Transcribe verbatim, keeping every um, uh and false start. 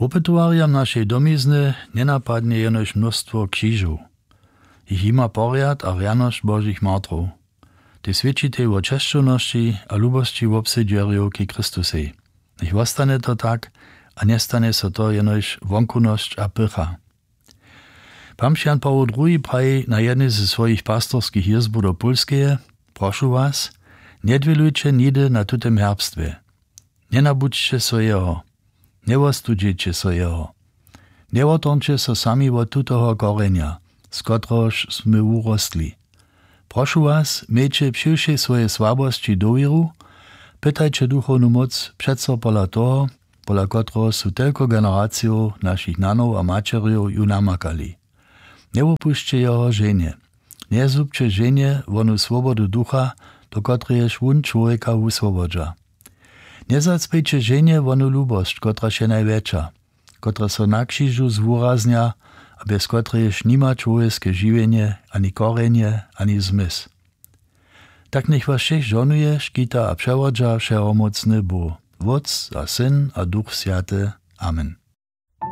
Wopytowarjam našej domizny njenapadnje jenož mnóstwo křižow. Jich jima porjad a rjanosć božich martrow. Tej swědčitej wo česćownosći a lubosći wobsedźerjow k christusej. Njech wostanje to tak, a njestanje so to jenož wonkunosć a pycha. Pamž jan pawoł druhi praji na jednej ze swojich pastorskich jězbow do pólskeje: prošu was, njedwělujće nihdy na tutym herbstwje. Njenabudźće so jeho. Njewostudźeće so jeho. Njewottornće so sami wot tutoho korjenja, z kotrehož smy wurostli. Prošu was, mějće při wšej swojej słabosći dowěru. Pytajće duchownu móc přeco pola toho, pola kotreho su telko generacijow našich nanow a maćerjow ju namakali. Njewopusće jeho ženje. Njezhubće ženje wonu swobodu ducha, do kotrejež wón čłowjeka wuswobodźa. Njezacpejće ženje wonu lubosć, kotraž je najwjetša, kotraž so na křižu zwuraznja, a bjez kotrejež nima čłowjeske žiwjenje, ani korjenje, ani zmysł. Tak njech was wšěch žohnuje, škita a přewodźa wšehomócny bóh, wótc a syn a duch swjaty. Amen.